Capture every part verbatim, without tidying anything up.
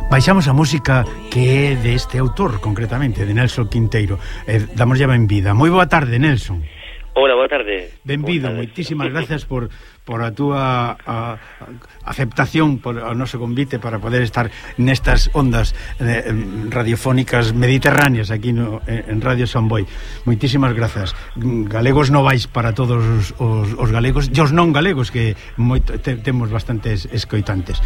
Baixamos a música que é deste autor, concretamente, de Nelson Quinteiro. Eh, damos ya benvida. Moi boa tarde, Nelson. Hola, boa tarde. Benvido, moitísimas gracias por por a túa a, a aceptación, por o noso convite para poder estar nestas ondas eh, radiofónicas mediterráneas aquí no, en Radio Samboy. Moitísimas grazas. Galegos novais para todos os, os, os galegos e os non galegos, que moito, te, temos bastantes escoitantes.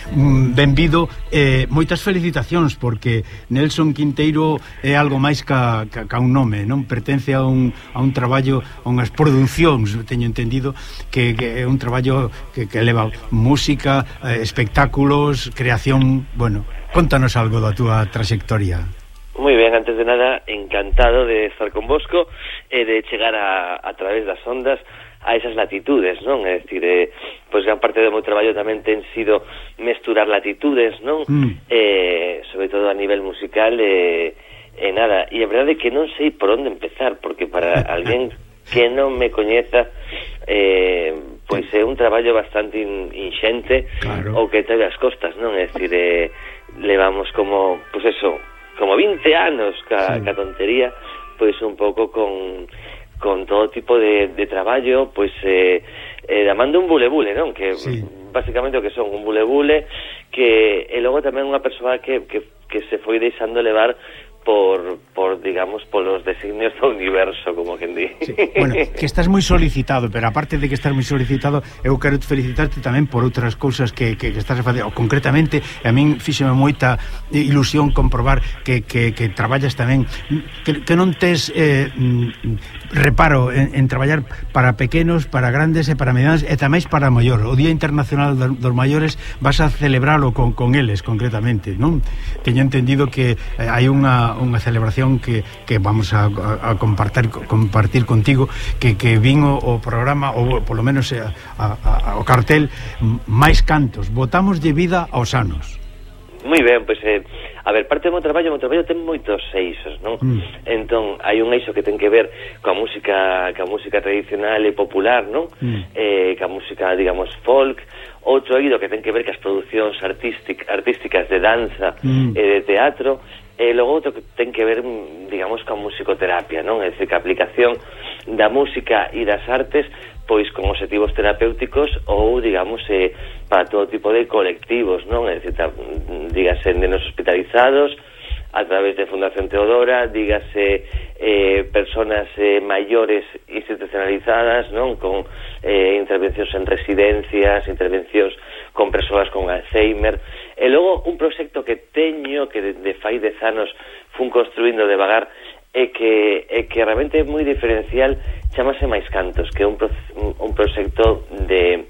Benvido, eh, moitas felicitacións, porque Nelson Quinteiro é algo máis ca, ca, ca un nome, non? Pertence a un, a un traballo, a unhas producións, teño entendido, que, que é un traballo que, que leva música, eh, espectáculos, creación. Bueno, contanos algo da túa trayectoria. Moi ben, antes de nada, encantado de estar con vosco e eh, de chegar a, a través das ondas a esas latitudes, non? É dicir, eh, pois gran parte do meu traballo tamén ten sido mesturar latitudes, non? Mm. Eh, sobre todo a nivel musical, e eh, eh, nada, e a verdade é que non sei por onde empezar, porque para alguén que non me coñeza, eh, pois é un traballo bastante in, inxente, claro, o que teve as costas, non? É dicir, eh, levamos como, pois eso, como vinte anos ca, sí. ca tontería, pois un pouco con con todo tipo de, de traballo, pois eh, eh, damando un bule-bule, non? Que sí. Basicamente o que son un bule-bule, que e logo tamén unha persoa que, que, que se foi deixando levar por, por digamos, polos designios do universo, como quen di. Sí. Bueno, que estás moi solicitado, pero aparte de que estás moi solicitado, eu quero felicitarte tamén por outras cousas que, que, que estás a facer. Concretamente, a min fíxeme moita ilusión comprobar que, que, que traballas tamén, que, que non tes eh, reparo en, en traballar para pequenos, para grandes e para medianos, e tamén para maior. O Día Internacional dos Maiores vas a celebralo con, con eles, concretamente, non? Teño entendido que eh, hai unha unha celebración que, que vamos a, a, a compartir compartir contigo, que, que vin o, o programa, ou polo menos a, a, a, o cartel, máis cantos, botamos de vida aos anos. Moi ben, pois eh, a ver, parte do meu traballo, o meu traballo ten moitos eixos, non? Mm. Entón, hai un eixo que ten que ver coa música, coa música tradicional e popular, non? Mm. Eh, coa música, digamos, folk. Outro eido que ten que ver coas producións artístic, artísticas de danza mm. e de teatro. E logo outro que ten que ver, digamos, coa musicoterapia, non? É dicir, que a aplicación da música e das artes, pois con obxectivos terapéuticos ou, digamos, eh, para todo tipo de colectivos, non? É dicir, dígase nenos hospitalizados a través de Fundación Teodora, dígase eh, personas eh, maiores institucionalizadas, non? Con eh, intervencións en residencias, intervencións con persoas con Alzheimer. E logo un proxecto que teño, que de, de fai dez anos fun construindo devagar, e que, e que realmente é moi diferencial, chamase Máis Cantos, que é un, pro, un proxecto de,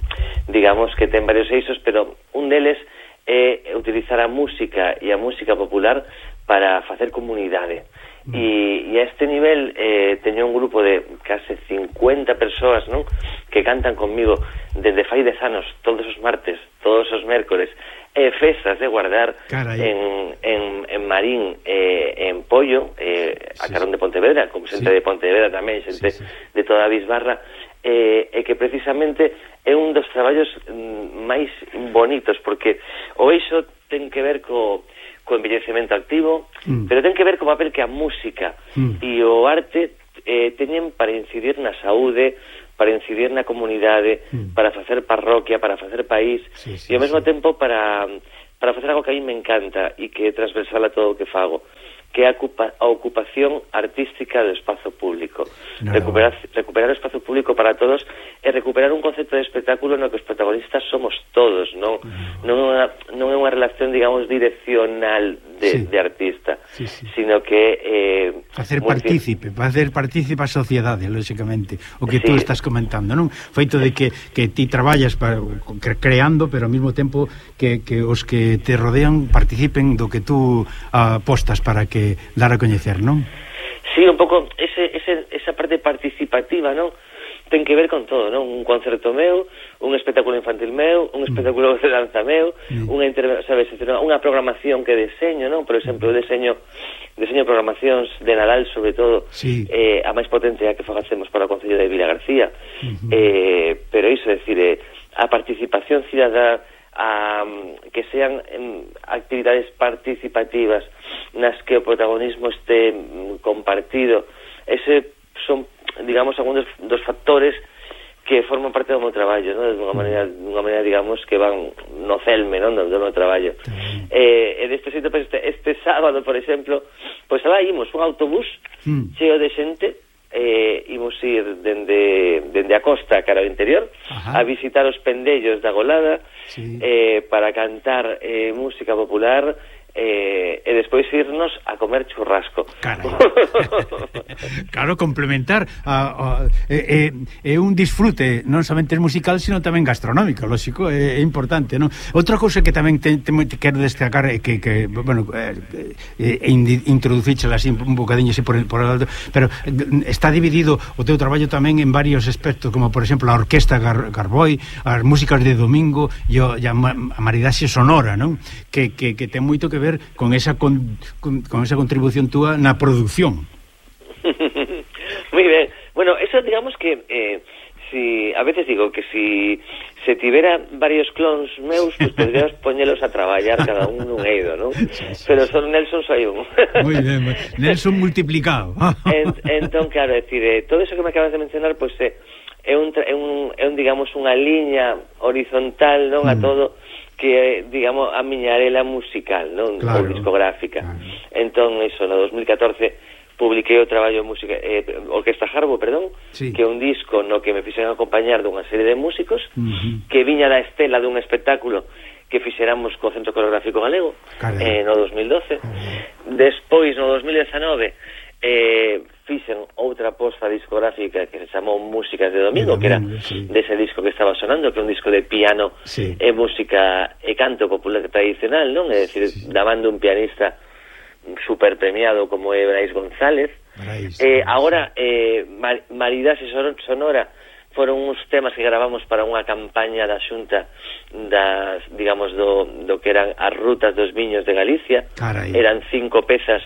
digamos, que ten varios eixos, pero un deles é utilizar a música e a música popular para facer comunidade. Mm. E, e a este nivel eh, teño un grupo de case cincuenta persoas, non? Que cantan conmigo desde fai dez anos, todos os martes, todos os mércores, e festas de guardar en, en, en Marín, eh, en Pollo, eh, a Carón de Pontevedra, como xente sí. de Pontevedra tamén, xente sí, sí. de toda a Bisbarra, eh, e que precisamente é un dos traballos mm, máis bonitos, porque o eixo ten que ver co, co envellecemento activo, mm. pero ten que ver co papel que a música mm. e o arte eh, teñen para incidir na saúde, para incidir na comunidade, mm. para facer parroquia, para facer país, sí, sí, e ao mesmo sí. tempo para, para facer algo que a mí me encanta e que é transversal a todo o que fago, que é a, ocupa, a ocupación artística do espazo público. No. Recuperar, recuperar o espazo público para todos e recuperar un concepto de espectáculo no que os protagonistas somos todos, non, no. non, é, unha, non é unha relación, digamos, direccional de, sí. de artista, sí, sí. sino que eh, facer partícipe, facer partícipe a sociedade, lógicamente, o que sí. tú estás comentando, non? Feito de que, que ti traballas para, creando, pero ao mesmo tempo que, que os que te rodean participen do que tú apostas para que dar a coñecer, non? Sí, un pouco ese, ese, esa parte participativa, non? Ten que ver con todo, non? Un concerto meu, un espectáculo infantil meu, un espectáculo mm. de danza meu, mm. unha interve- sabes, unha programación que deseño, non? Por exemplo, eu deseño deseño programacións de Nadal, sobre todo, sí. eh, a máis potencia que facemos para o Concello de Vilagarcía. Mm-hmm. Eh, pero iso, é dicir, eh, a participación cidadá, a que sean em, actividades participativas nas que o protagonismo este compartido. Ese son, digamos, algúns dos, dos factores que forman parte do meu traballo, ¿no? De unha maneira, unha maneira, digamos, que van no celme, ¿no? Do, do meu traballo. Eh, e deste xeito, pues, este, este sábado, por exemplo, pois pues, alá imos un autobús mm. cheo de xente, eh, imos ir dende, dende a costa cara ao interior, ajá, a visitar os pendellos da Golada, sí, eh, para cantar eh, música popular, eh, e despois irnos a comer churrasco. Claro, complementar a, a, é, é un disfrute non somente musical, sino tamén gastronómico, lógico, é, é importante, non? Outra cousa que tamén te, te, te quero destacar é que, que bueno, eh, eh, introducíchela así un bocadiño así por, por alto, pero está dividido o teu traballo tamén en varios aspectos, como por exemplo a orquesta Gar, Garboi, as músicas de domingo e a, a maridaxe sonora, non? Que, que, que ten moito que ver con esa con, con, con esa contribución túa na produción. Muy ben. Bueno, eso digamos que eh, si a veces digo que si se tivera varios clones meus, pues podríamos poñelos a traballar cada un nun eido, ¿no? Sí, sí, pero son Nelson soy un. Muy ben, Nelson multiplicado. en, entón, claro, é dicir, eh, todo eso que me acabas de mencionar, pues eh, é un, é un, é un digamos, unha liña horizontal, non, mm. a todo que, digamos, a miña arela musical, non? Claro, ou discográfica. Claro. Entón, iso, no dos mil catorce publiquei o traballo de música, eh, Orquesta Jarbo, perdón, sí, que é un disco no que me fixeron acompañar dunha serie de músicos, uh-huh, que viña da estela dun espectáculo que fixéramos co Centro Coreográfico Galego, eh, no dos mil doce. Uh-huh. Despois, no dos mil dezanove, eh, fixen outra posta discográfica que se chamou Músicas de Domingo, de domingo, que era sí, dese disco que estaba sonando, que é un disco de piano, sí, e música e canto popular tradicional, non? É dicir, sí, da man dun pianista super premiado como é Brais González. Brais, eh, agora, eh, Mar Maridaxe Sonora foron uns temas que gravamos para unha campaña da Xunta das, digamos, do, do que eran as rutas dos viños de Galicia. Carai. Eran cinco pezas,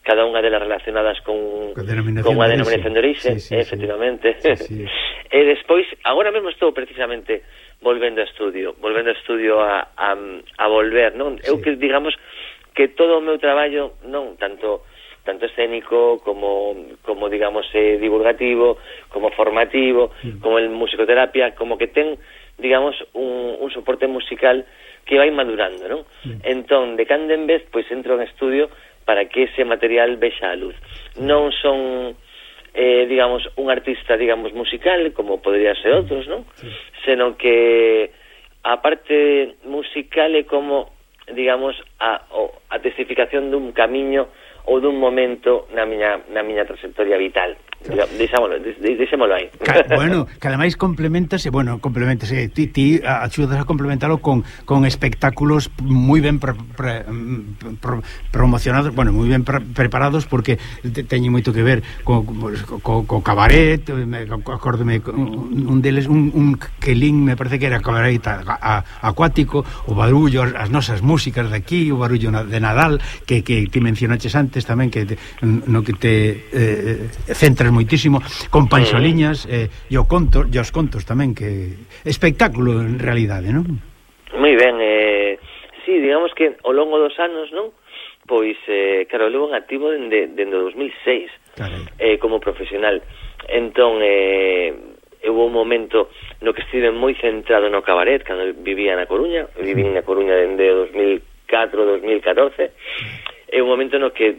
cada unha delas relacionadas con, con a denominación de orixe, sí, sí, efectivamente. Sí, sí. E despois, agora mesmo estou precisamente volvendo a estudio, volvendo a estudio a, a, a volver, non? Sí. Eu que, digamos, que todo o meu traballo, non, tanto tanto escénico como, como digamos, eh, divulgativo, como formativo, sí, como el musicoterapia, como que ten, digamos, un, un soporte musical que vai madurando, non? Sí. Entón, de cando en vez, pois entro en estudio para que ese material vexa a luz. Non son, eh, digamos, un artista, digamos, musical, como podría ser outros, non? Sí. Senón que a parte musical é como, digamos, a, a testificación dun camiño ou dun momento na miña, na miña trayectoria vital. Deixámolo, deixémolo aí. Bueno, que ademais complementase, bueno, complementase, ti, ti axudas a complementalo con, con espectáculos moi ben pre, pre, pro, promocionados, bueno, moi ben pre, preparados, porque te, teñen moito que ver co, co, co cabaret, acórdome, un deles, un, un quelín, me parece que era cabaret a, a, acuático, o barullo, as nosas músicas de aquí, o barullo de Nadal, que, que ti mencionaches antes tamén, que te, no que te eh, centras moitísimo, con panxoliñas eh, e o conto, e os contos tamén, que espectáculo en realidade, non? Moi ben, eh, sí, digamos que ao longo dos anos, non? Pois, eh, claro, levo en activo dende, dende dos mil seis, eh, como profesional. Entón, eh, houve un momento no que estive moi centrado no cabaret, cando vivía na Coruña, viví na Coruña dende dos mil catro, dos mil catorce, é un momento no que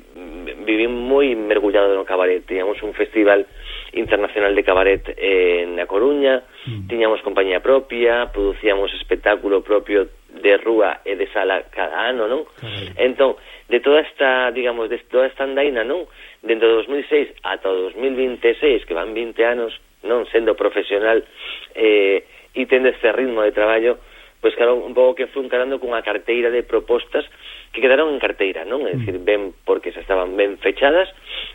viví moi mergullado no cabaret. Tiñamos un festival internacional de cabaret eh, na Coruña, mm. tiñamos compañía propia, producíamos espectáculo propio de rúa e de sala cada ano, non? Mm. Entón, de toda esta, digamos, de toda esta andaina, non? Dentro de dos mil seis ata dos mil veintiséis, que van vinte anos, non, sendo profesional eh, e tendo este ritmo de traballo, pois claro, un pouco que fui encarando cunha carteira de propostas que quedaron en carteira, non? É dicir, ben porque se estaban ben fechadas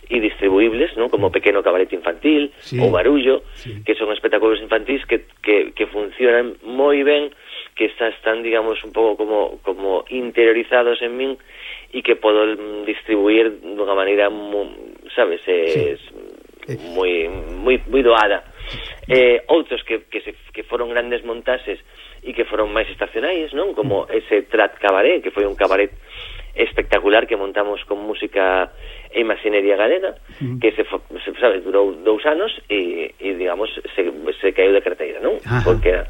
e distribuibles, non? Como Pequeno Cabaret Infantil, sí, ou Barullo, sí, que son espectáculos infantís que, que, que funcionan moi ben, que está, están, digamos, un pouco como, como interiorizados en min e que podo distribuir dunha maneira, moi, sabes, é, sí, moi, moi, moi doada. Eh, outros que, que, se, que foron grandes montaxes e que foron máis estacionais, non? Como ese Trat Cabaret, que foi un cabaret espectacular que montamos con música e imaxinería galega, mm. que se, se sabe, durou dous anos e, e digamos, se, se caeu de carteira, non? Ajá. Porque era...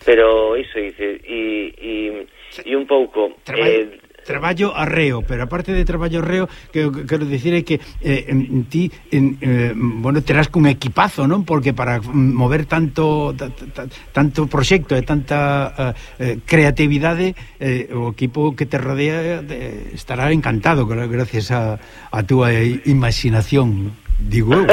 Pero iso, e, e, e un pouco... Eh, traballo arreo, pero aparte de traballo arreo, que quero dicir é que eh, ti en, eh, bueno, terás cun equipazo, non? Porque para mover tanto tanto proxecto e tanta eh, creatividade, eh, o equipo que te rodea eh, estará encantado gracias a, a túa imaginación, digo eu.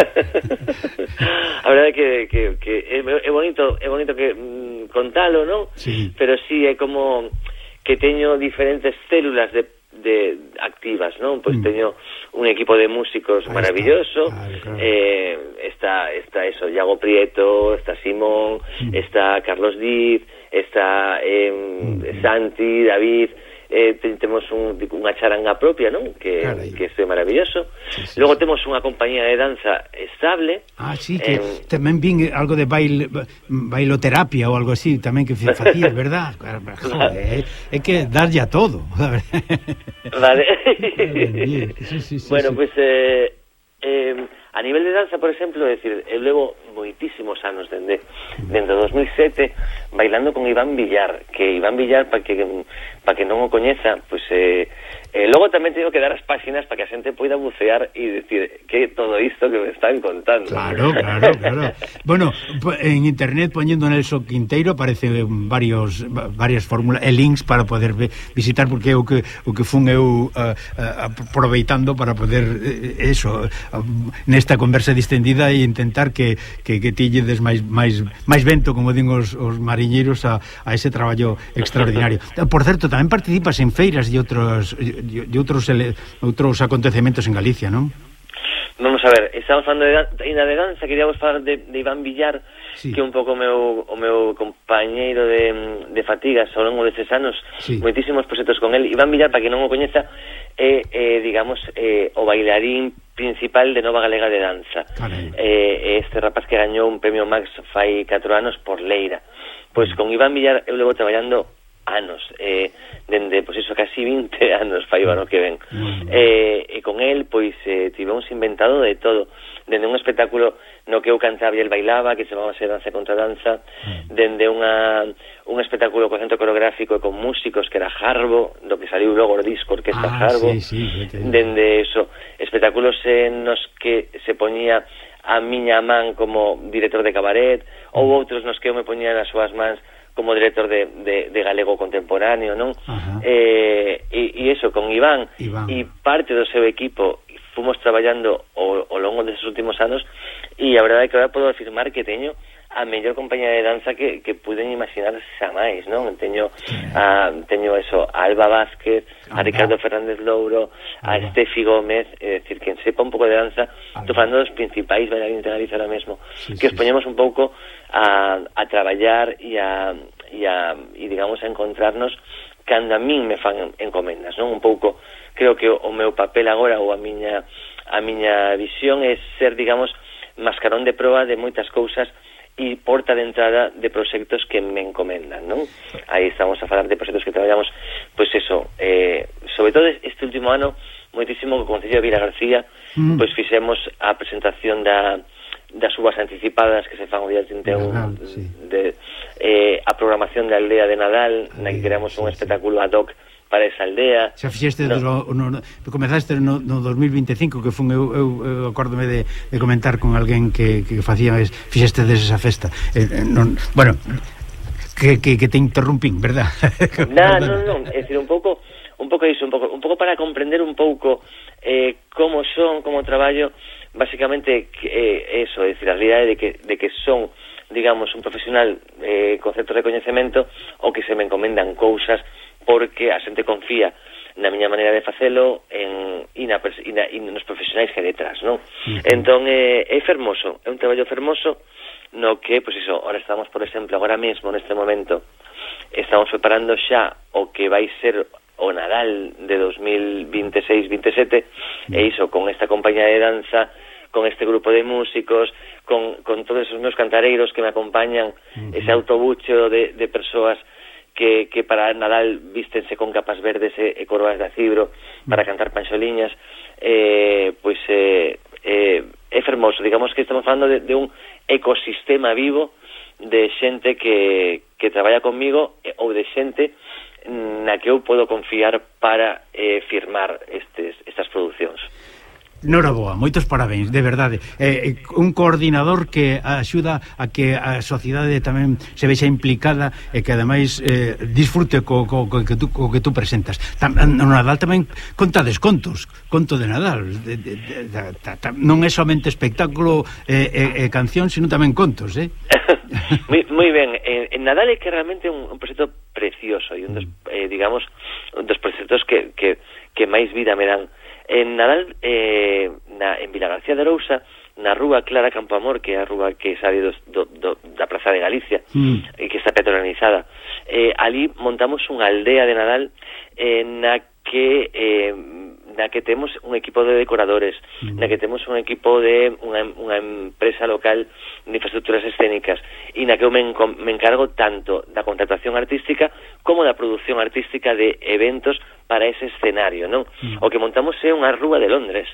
A verdade é que, que, que é, é bonito, é bonito que mm, contalo, non? Sí. Pero sí, é como que teño diferentes células de, de activas, non? Pois mm. teño un equipo de músicos ahí maravilloso, está. Claro, claro. Eh, está, está eso, Iago Prieto, está Simón, mm. está Carlos Diz, está eh, mm. Santi, David, eh, temos un, unha charanga propia, non? Que, que é maravilloso. Sí, sí, logo sí. Temos unha compañía de danza estable. Ah, sí, que eh, tamén vin algo de bail, bailoterapia ou algo así, tamén que facías, verdad? Joder, é que darlle a todo. Vale. Sí, sí, sí, bueno, sí. Pues eh, eh, a nivel de danza, por exemplo, é dicir, eu levo moitísimos anos dende dende dos mil sete bailando con Iván Villar, que Iván Villar, para que para que non o coñeza, pois eh, eh, logo tamén teño que dar as páxinas para que a xente poida bucear e dicir que todo isto que me están contando. Claro, claro, claro. Bueno, en internet poñendo Nelson Quinteiro aparece varios varias fórmulas e links para poder visitar, porque é o que o que fun eu uh, uh, aproveitando para poder uh, eso, uh, nesta conversa distendida e intentar que que, que tilledes máis máis máis vento, como din os, os mariñeiros, a, a ese traballo extraordinario. Por certo, tamén participas en feiras e outros e outros ele, outros acontecementos en Galicia, non? Vamos a ver, estamos falando de, de, de danza, queríamos falar de, de Iván Villar, sí. Que é un pouco o meu, o meu compañeiro de, de fatigas ao longo destes anos, sí. Moitísimos proxectos con el. Iván Villar, para que non o coñeza, é, eh, digamos, eh, o bailarín principal de Nova Galega de Danza. Eh, este rapaz que gañou un premio Max fai catro anos por Leira. Pois con Iván Villar eu levo traballando anos, eh, dende, pois iso, casi vinte anos fai o ano que ven. Mm. Eh, e con el, pois, eh, tivemos inventado de todo, dende un espectáculo no que eu cantaba e el bailaba, que se chamaba Danza contra Danza, mm. dende unha, un espectáculo co centro coreográfico e con músicos que era Jarbo, do que saliu logo o disco Orquesta ah, Jarbo, sí, sí, dende eso, espectáculos en nos que se poñía a miña man como director de cabaret, mm. ou outros nos que eu me poñía nas súas mans como director de, de, de galego contemporáneo, non? Eh, e, e eso, con Iván, Iván e parte do seu equipo fomos traballando ao, ao longo destes últimos anos, e a verdade é que agora podo afirmar que teño a mellor compañía de danza que, que puden imaginar xa máis, non? Teño a, teño eso, a Alba Vázquez, a Ricardo Fernández Louro, a Estefi Gómez, é dicir, quen sepa un pouco de danza, estou falando dos principais bailarines de Galicia ahora mesmo, sí, que os poñemos un pouco a, a traballar e a, e a e digamos a encontrarnos cando a min me fan encomendas, non? Un pouco, creo que o, o meu papel agora ou a miña a miña visión é ser, digamos, mascarón de proa de moitas cousas e porta de entrada de proxectos que me encomendan, non? Aí estamos a falar de proxectos que traballamos, pois eso, eh, sobre todo este último ano, moitísimo co Concello de Vila García, mm. pois fixemos a presentación da das uvas anticipadas que se fan o día trinta e un, Nadal, sí. de, eh, a programación da aldea de Nadal, Ay, na que creamos sí, un espectáculo ad hoc para esa aldea. Xa fixeste, no. do, no, no, comezaste no, no dos mil vinte e cinco, que fun eu, eu, eu acórdome de, de comentar con alguén que, que facía, fixeste desde esa festa. Eh, non, bueno, que, que, que te interrumpín, verdad? Non, non, non, é dicir, un pouco un pouco iso, un pouco, un pouco para comprender un pouco eh, como son, como traballo, basicamente eh, eso, é dicir, a realidade de que, de que son, digamos, un profesional eh, con certo recoñecemento, ou que se me encomendan cousas porque a xente confía na miña maneira de facelo en, e, na, e, na, e nos profesionais que hai detrás, non? Uh-huh. Entón, eh, é fermoso, é un traballo fermoso no que, pois iso, ahora estamos, por exemplo, agora mesmo, neste momento, estamos preparando xa o que vai ser o Nadal de dos mil vinte e seis vinte e sete, uh-huh. e iso, con esta compañía de danza, con este grupo de músicos, con, con todos esos meus cantareiros que me acompañan, uh-huh. ese autobucho de, de persoas que, que para Nadal vístense con capas verdes e, e coroas de acibro para cantar panxoliñas, eh, pois eh, eh, é fermoso. Digamos que estamos falando de, de un ecosistema vivo de xente que, que traballa conmigo ou de xente na que eu podo confiar para eh, firmar estes, estas producións. Noraboa, moitos parabéns, de verdade. Eh, un coordinador que axuda a que a sociedade tamén se vexa implicada e que ademais eh, disfrute co, co, co, que tú, co que tú presentas. Tam, no Nadal tamén contades contos, conto de Nadal. De, de, de, de, de, de, non é somente espectáculo e eh, eh, eh, canción, sino tamén contos, eh? moi, moi ben, en, en Nadal é que realmente un, un proxecto precioso e un dos, eh, digamos, un dos proxectos que, que, que máis vida me dan. En Nadal, eh, na, en Vilagarcía de Arousa, na rúa Clara Campoamor, que é a rúa que sale do, do, do, da Praza de Galicia, mm. e que está peatonalizada, eh, ali montamos unha aldea de Nadal eh, na que eh, na que temos un equipo de decoradores, mm. na que temos un equipo de unha, unha empresa local de infraestructuras escénicas, e na que eu me, me encargo tanto da contratación artística como da produción artística de eventos para ese escenario, non? Mm. O que montamos é unha rúa de Londres,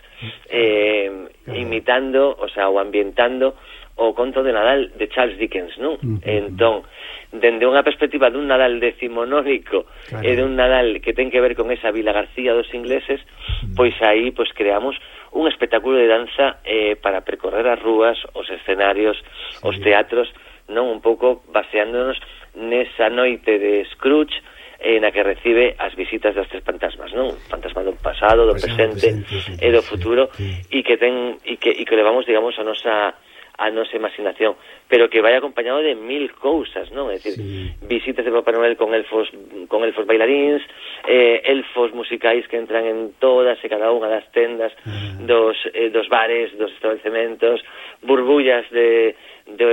eh, claro. imitando, o sea, ou ambientando o conto de Nadal de Charles Dickens, non? Mm. Entón, dende unha perspectiva dun Nadal decimonónico claro. e dun Nadal que ten que ver con esa Vila García dos ingleses, mm. pois aí pois creamos un espectáculo de danza eh, para percorrer as rúas, os escenarios, sí. os teatros, non? Un pouco baseándonos nesa noite de Scrooge, eh, na que recibe as visitas das tres fantasmas, non? Fantasma do pasado, do presente, presente e do futuro, e que ten e que, e que levamos, digamos, a nosa a nosa imaginación, pero que vai acompañado de mil cousas, non? É dicir, sí. visitas de Papá Noel con elfos con elfos bailaríns, eh, elfos musicais que entran en todas e cada unha das tendas uh-huh. dos, eh, dos bares, dos establecementos, burbullas de, de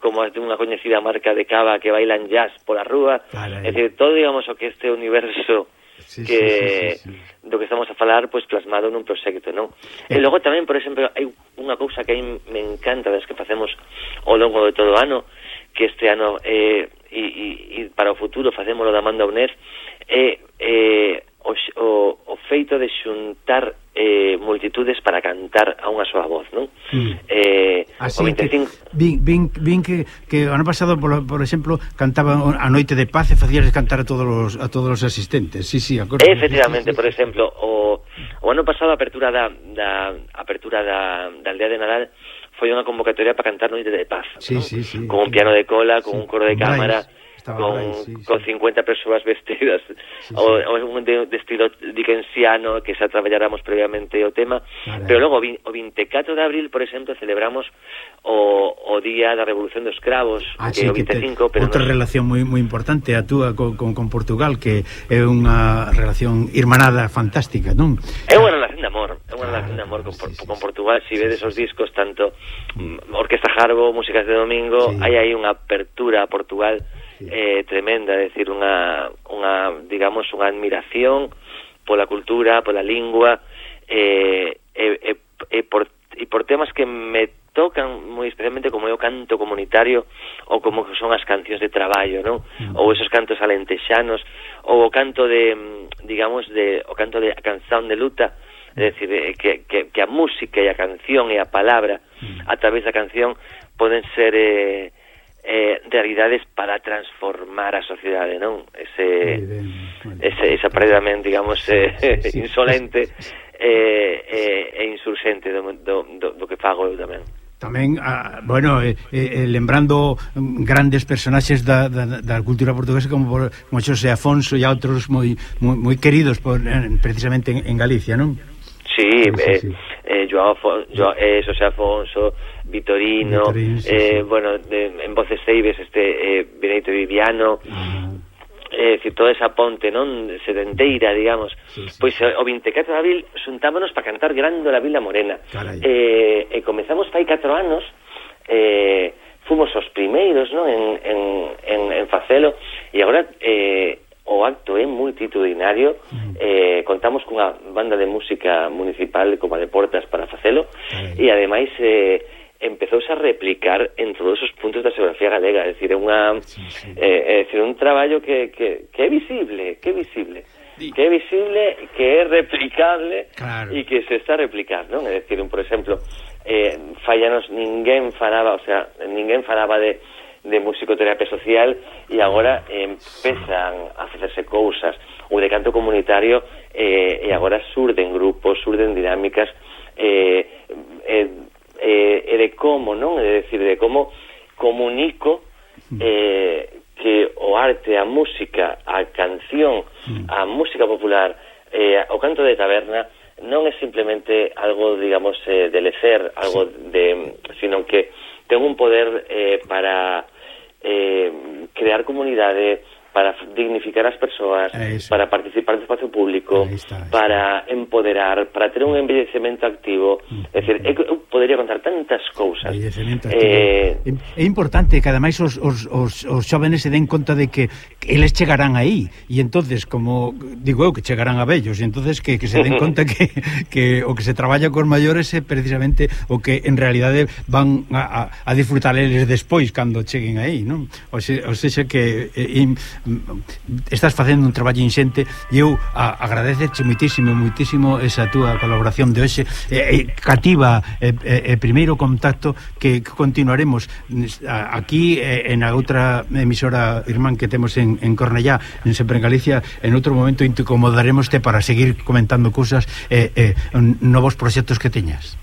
como de unha coñecida marca de cava que bailan jazz pola rúa, é dicir, todo, digamos, o que este universo sí, que sí, sí, sí, sí. do que estamos a falar, pois plasmado nun proxecto, non? Eh. E logo tamén, por exemplo, hai unha cousa que a mí me encanta das que facemos ao longo de todo o ano, que este ano eh, e, e, e para o futuro facémolo da Manda UNED, é eh, o, o, o feito de xuntar eh, multitudes para cantar a unha soa voz, non? Mm. Eh, Así veinticinco... que vin, vin, vin que, que o ano pasado, por, por exemplo, cantaba a Noite de Paz e facías cantar a todos os, a todos os asistentes. Sí, sí, acordo. Efectivamente, por exemplo, o, o ano pasado a apertura da, da apertura da, da aldea de Nadal foi unha convocatoria para cantar Noite de Paz, sí, ¿no? sí, sí, con un sí. piano de cola, con sí. un coro de cámara, con, ahí, sí, con sí. cincuenta persoas vestidas, sí, sí. o, o un de, de estilo dickensiano, que xa traballáramos previamente o tema, vale. Pero logo o veinticuatro de abril, por exemplo, celebramos o, o Día da Revolución dos Cravos, ah, que sí, o veinticinco, que te, pero outra nos... relación moi moi importante a túa con, con, con Portugal, que é unha relación irmanada fantástica, non? É unha relación de amor, é unha relación de amor con, sí, sí, con Portugal. Si vedes os discos, tanto mm. Orquesta Jarbo, Músicas de Domingo, sí. hai aí unha apertura a Portugal eh, tremenda, é dicir, unha, unha, digamos, unha admiración pola cultura, pola lingua, eh, e, e, e, por, e por temas que me tocan moi especialmente, como é o canto comunitario ou como son as cancións de traballo, non? Mm. Ou esos cantos alentexanos, ou o canto de, digamos, de o canto de a canción de luta, é dicir, que, que, que a música e a canción e a palabra mm. a través da canción poden ser eh, eh, realidades para transformar a sociedade, non? Ese, ese esa paredamente, digamos, eh, sí, sí, insolente e eh, eh, insurxente do, do, do, do que fago eu tamén. Tamén, ah, bueno, eh, eh, lembrando grandes personaxes da, da, da cultura portuguesa como, por, como Xosé Afonso e outros moi, moi, moi queridos por, precisamente en, en Galicia, non? Sí, sí, eh, sí. Eh, Joao, Joao, eh, Xosé Afonso, Vitorino, Vitorino sí, eh, sí. bueno, de, en Voces Ceibes, este eh, Benito Viviano, ah. eh, decir, toda esa ponte, non, sedenteira, digamos, sí, sí, pois sí. O veinticuatro de abril xuntámonos para cantar Grándola Vila Morena. Eh, e comezamos fai catro anos, eh, fomos os primeiros, non, en, en, en, en facelo, e agora eh, o acto é multitudinario. Mm. eh, contamos cunha banda de música municipal como a de Portas para facelo, mm. e ademais eh, empezouse a replicar en todos os puntos da xeografía galega, é dicir, é unha sí, sí. Eh, é dicir, un traballo que, que, que é visible, que é visible, sí. que é visible, que é replicable claro. e que se está a replicar, non? É dicir, un, por exemplo, eh, fallanos ninguén falaba, o sea, ninguén falaba de, de musicoterapia social e agora eh, empezan a facerse cousas, ou de canto comunitario, eh, e agora surden grupos, surden dinámicas, eh, eh, E, e de como, non? É dicir, de como comunico eh, que o arte, a música, a canción, a música popular, eh, o canto de taberna non é simplemente algo, digamos, eh, de lecer, algo de, sino que ten un poder eh, para eh, crear comunidade, para dignificar as persoas, para participar do espacio público, está, está. para empoderar, para ter un envellecemento activo. É dicir, eu podería contar tantas cousas. Eh, é importante que ademais os, os, os, os xóvenes se den conta de que eles chegarán aí, e entonces, como digo eu, que chegarán a vellos, e entonces que, que se den conta que, que o que se traballa con maiores é precisamente o que en realidade van a, a, a disfrutar eles despois cando cheguen aí, non? O, se, o sexa que eh, estás facendo un traballo inxente e eu agradecerche moitísimo, moitísimo esa túa colaboración de hoxe, eh, cativa e eh, eh, primeiro contacto que, que continuaremos aquí eh, en a outra emisora irmán que temos en, en Cornellá, en Sempre en Galicia. En outro momento incomodarémoste para seguir comentando cousas, eh, eh, novos proxectos que teñas.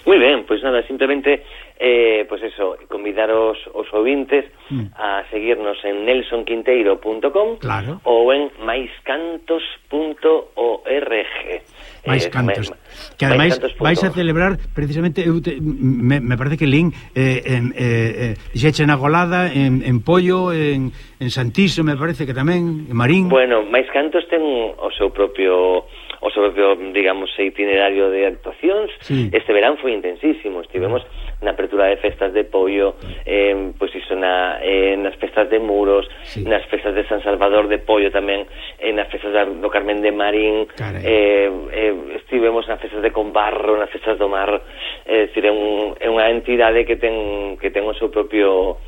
Moi ben, pois nada, simplemente eh, pois eso, convidar os, os ouvintes mm. a seguirnos en nelson quinteiro punto com claro. ou en maiscantos punto org. Mais cantos. Eh, que ademais vais a celebrar precisamente eu te, me, me parece que Lin eh, eh, eh, xeche na Golada en, en Pollo, en, en Santiso me parece que tamén, en Marín. Bueno, Mais Cantos ten o seu propio o seu propio, digamos, itinerario de actuacións. Sí. Este verán foi intensísimo, estivemos na apertura de festas de Pollo, eh, pois iso na, eh, nas festas de Muros, sí. nas festas de San Salvador de Pollo tamén, eh, nas festas do Carmen de Marín, eh, eh, estivemos nas festas de Combarro, nas festas do Mar, é dicir, é, un, é unha entidade que ten que ten o seu propio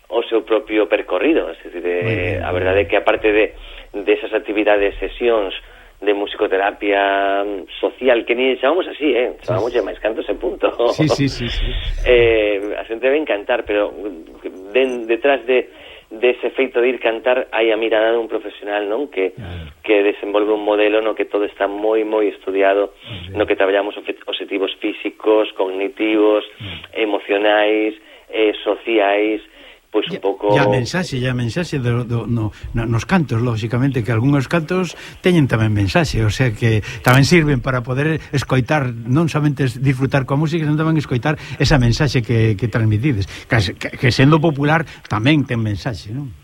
o seu propio percorrido, é dicir, eh, a verdade é que aparte de desas de actividades, sesións de musicoterapia social, que ni chamamos así, eh, chamamos sí. máis cantos e punto. Sí, sí, sí, sí. Eh, a xente debe encantar, pero de, detrás de dese feito de ir cantar hai a mirada dun profesional, non? Que claro. que desenvolve un modelo no que todo está moi moi estudiado, sí. no que traballamos objetivos físicos, cognitivos, sí. emocionais, eh, sociais, pois un pouco... E a mensaxe, e a mensaxe do, do, no, no, nos cantos, lógicamente, que algúns cantos teñen tamén mensaxe, o sea que tamén sirven para poder escoitar, non somente disfrutar coa música, senón tamén escoitar esa mensaxe que, que transmitides, que, que, que sendo popular tamén ten mensaxe, non?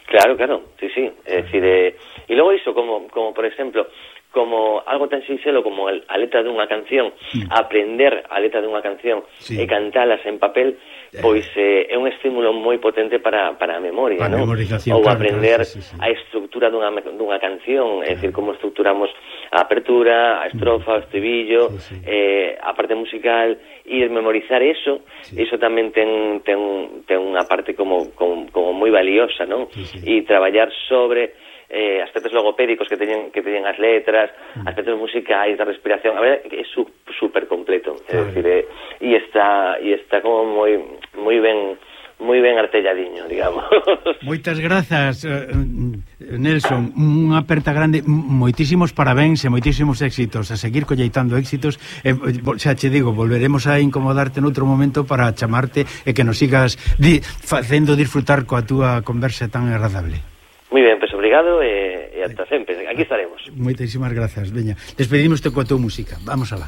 Claro, claro, sí, sí, é dicir, eh, e logo iso, como, como por exemplo, como algo tan sinxelo como el, a letra dunha canción, sí. aprender a letra dunha canción sí. e cantalas en papel, pois eh, é un estímulo moi potente para, para a memoria, para non? Ou claro, aprender claro, sí, sí. a estrutura dunha, dunha canción, é dicir, como estruturamos a apertura, a estrofa, o estribillo, sí, sí. Eh, a parte musical, e memorizar eso, sí. eso tamén ten, ten, ten unha parte como, como, como moi valiosa, non? Sí, sí. E traballar sobre eh, aspectos logopédicos que teñen que teñen as letras, mm. aspectos musicais, da respiración, a ver, é su, super completo, é dicir, eh, e está e está como moi moi ben moi ben artelladiño, digamos. Moitas grazas, Nelson, unha aperta grande, moitísimos parabéns e moitísimos éxitos, a seguir colleitando éxitos, e, xa che digo, volveremos a incomodarte noutro momento para chamarte e que nos sigas di, facendo disfrutar coa túa conversa tan agradable. Moi ben, pois obrigado e, e ata sempre, aquí estaremos. Moitísimas grazas, veña, despedimos coa túa música, vamos alá.